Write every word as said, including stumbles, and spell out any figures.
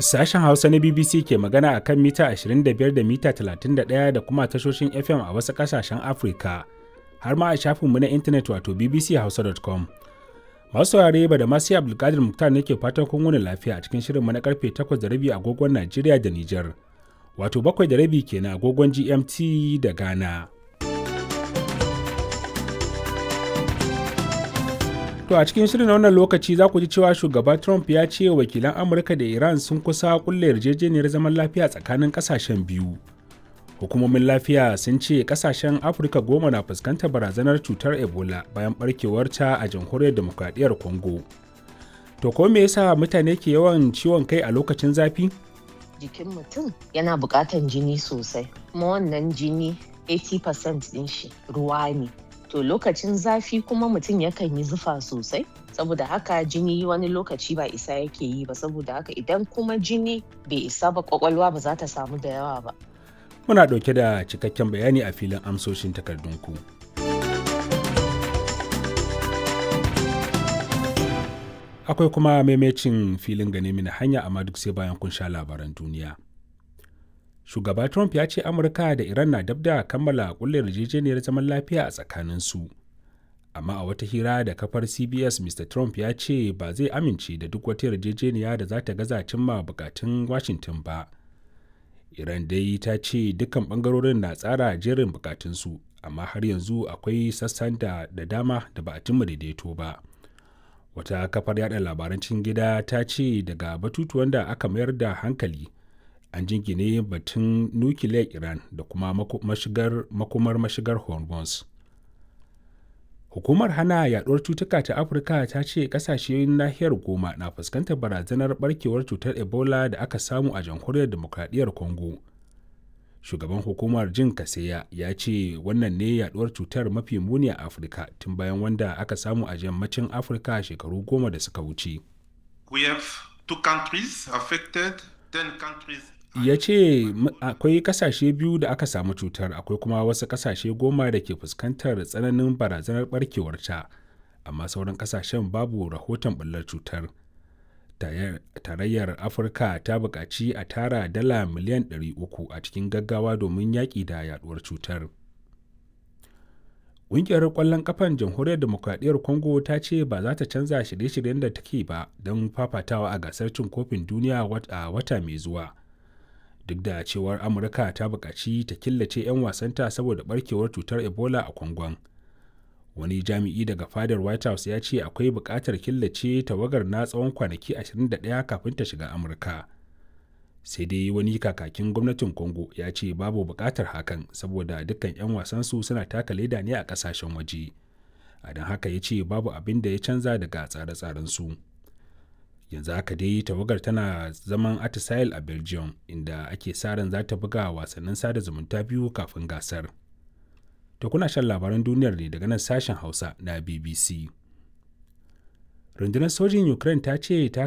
Sashen Hausa na B B C ke magana a kan mita ashirin da biyar da mita talatin da ɗaya da kuma tashoshin F M a wasu ƙasashen Afirka, har ma a shafinmu na intanet wato B B C hausa dot com. Masu saurare, ba da masu Abdulkadir Muktar nake fatan kun wuni lafiya a cikin shirinmu na karfe takwas da rabi agogon Najeriya da Nijar, wato bakwai da rabi kenan agogon G M T da Ghana. To a cikin shirin na wannan lokaci za ku ji cewa shugaba Trump ya ce wakilan Amurka da Iran sun kusa kulle yarjejeniyar zaman lafiya tsakanin kasashen biyu. Hukumomin lafiya sun ce kasashen Afirka goma na fuskantar barazanar cutar Ebola bayan barkewarta a Jamhuriyar Demokradiyyar Congo. To ko me yasa mutane ke yawan ciwon kai a lokacin zafi? Jikin mutum yana buƙatan jini sosai, kuma wannan jini kashi tamanin cikin ɗari ɗin shi ruwa ne. To lokacin zafi kuma mutum yakan yi zufa sosai, saboda haka jini wani lokaci ba isa yake yi ba, saboda haka idan kuma jini bai isa ba, kwakwalwa ba za ta samu da yawa ba. Muna ɗauke da cikakken bayani a filin amsoshin takardunku. Akwai kuma maimacin filin gane mini hanya, amma duk sai bayan kun sha labaran duniya. Shugaba Trump ya ce Amurka da Iran na dab da kammala kulle yarjejeniyar zaman lafiya a tsakaninsu. Amma a wata hira da kafar C B S, Mister Trump ya ce ba zai amince da duk wata yarjejeniya da za ta gaza cimma bukatun Washington ba. Iran dai ta ce dukkan bangarorin na tsara jerin bukatunsu, amma har yanzu akwai sassan da da dama da ba a cimma daidaito ba. Wata kafar yada labaran cikin gida ta ce daga batutuwan da aka mayar da hankali an jingine batun nukiliyar Iran da kuma mashigar, makomar mashigar Hormuz. Hukumar hana yaduwar cutuka ta Afirka ta ce kasashen nahiyar goma na fuskantar barazanar barkewar cutar Ebola da aka samu a Jamhuriyar Demokradiyyar Congo. Shugaban hukumar Jin Kaseya ya ce wannan ne yaduwar cutar mafi muni a Afirka tun bayan wanda aka samu a yammacin Afirka shekaru goma da suka wuce. We have two countries affected, ten countries. Ya ce akwai kasashe biyu da aka samu cutar, akwai kuma wasu kasashe goma da ke fuskantar tsananin barazanar barkewarta, amma sauran kasashen babu rahoton bullar cutar. Tarayyar Afirka ta buƙaci a tara dala miliyan ɗari uku a cikin gaggawa domin yaƙi da yaduwar cutar. Ƙungiyar ƙwallon ƙafan Jamhuriyar Demokradiyyar Congo ta ce ba za ta canza shirye-shiryen da take ba don fafatawa a gasar cin kofin duniya a wata mai zuwa, duk da cewar Amurka ta buƙaci ta killace 'yan wasanta saboda barkewar cutar Ebola a Kwangon. Wani jami'i daga fadar White House ya ce akwai buƙatar killace tawagar na tsawon kwanaki ashirin da ɗaya kafin ta shiga Amurka. Sai dai wani kakakin gwamnatin Congo ya ce babu buƙatar hakan saboda dukkan 'yan wasansu suna taka leda ne a ƙasashen waje, a don haka ya ce babu abin da ya canza daga tsare-tsarensu. Yanzu haka dai tawagar tana zaman atisaye a Belgium, inda ake sa ran za ta buga wasannin sada zumunta biyu kafin gasar. To kuna shan labaran duniyar ne daga nan Sashen Hausa na B B C. Rundunar sojin Ukraine ta ce ta